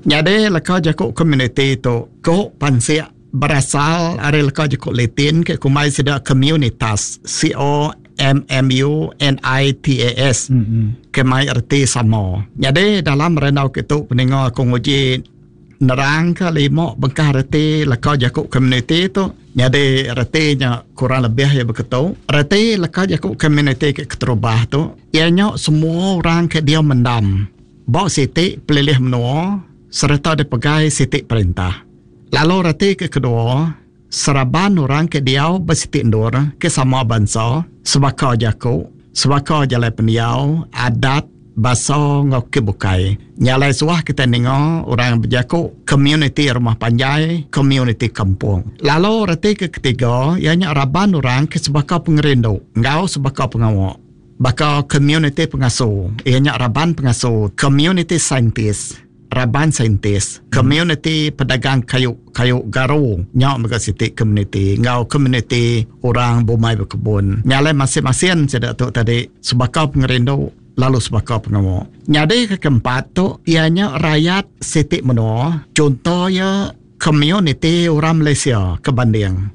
Nyadi leka jaku komuniti tu ku pansik berasal ari leka jaku Latin ke kumbai sida communitas, C O M M U N I T A S, ke mai reti sama. Nyadi dalam randau ke tu peninga aku nguji nerangka lima bengkah reti leka jaku komuniti tu. Nyadi reti nya kurang lebih iya beketu. Reti leka jaku komuniti ke keterubah tu iya nya semua orang ke diau mendam ba siti pelilih menua sereta dipegai siti perintah. Lalu reti ke kedua, seraban orang ke diau ba siti endur ke sama bansa, sebaka jaku, sebaka jalai pendiau, adat, basa enggau ke bukai. Nya alai suah kitai ninga orang bejaku komuniti rumah panjai, komuniti kampung. Lalu reti ke ketiga iya nya raban orang ke sebaka pengerindu enggau sebaka pengawa. Baka komuniti pengasu, iya nya raban pengasu, komuniti saintis, raban saintis, komuniti pedagang kayu kayu garu nya mega siti komuniti enggau komuniti orang bumai bekebun. Nya alai masin-masin sida tu tadi sebaka pengerindu lalu sebaka pengawa. Nyadi ke keempat tu iya nya rayat siti menua, chunto iya komuniti orang Malaysia ke banding.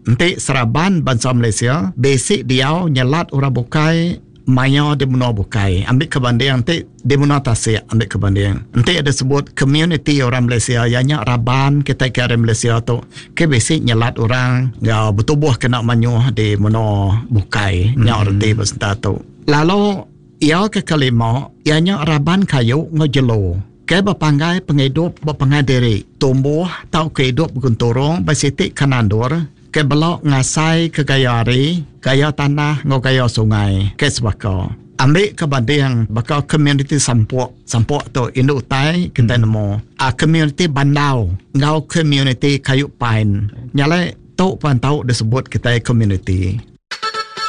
Enti seraban bansa Malaysia bisi diau nyelat orang bukai maya di menua bukai ambi ke banding enti di menua tasik ambi ke banding. Enti ada sebut komuniti orang Malaysia iya nya raban kitai ke ari Malaysia tu ke bisi nyelat orang enggau betubuh kena mayuh di menua bukai nya reti ba senta tu. Lalu iya ke kelima iya nya raban kayu enggau jelu ke bepanggai pengidup ba pangan diri tumbuh tauka idup begenturung ba siti kanan endur ke bela ngasai ke gaya hari, gaya tanah enggau gaya sungai ke sebaka. Ambi ke banding baka komuniti Sampok, Sampok tu indu utai kitai nemu. Komuniti Bandau enggau komuniti Kayu Pine. Nya alai tu pan tau disebut kitai komuniti.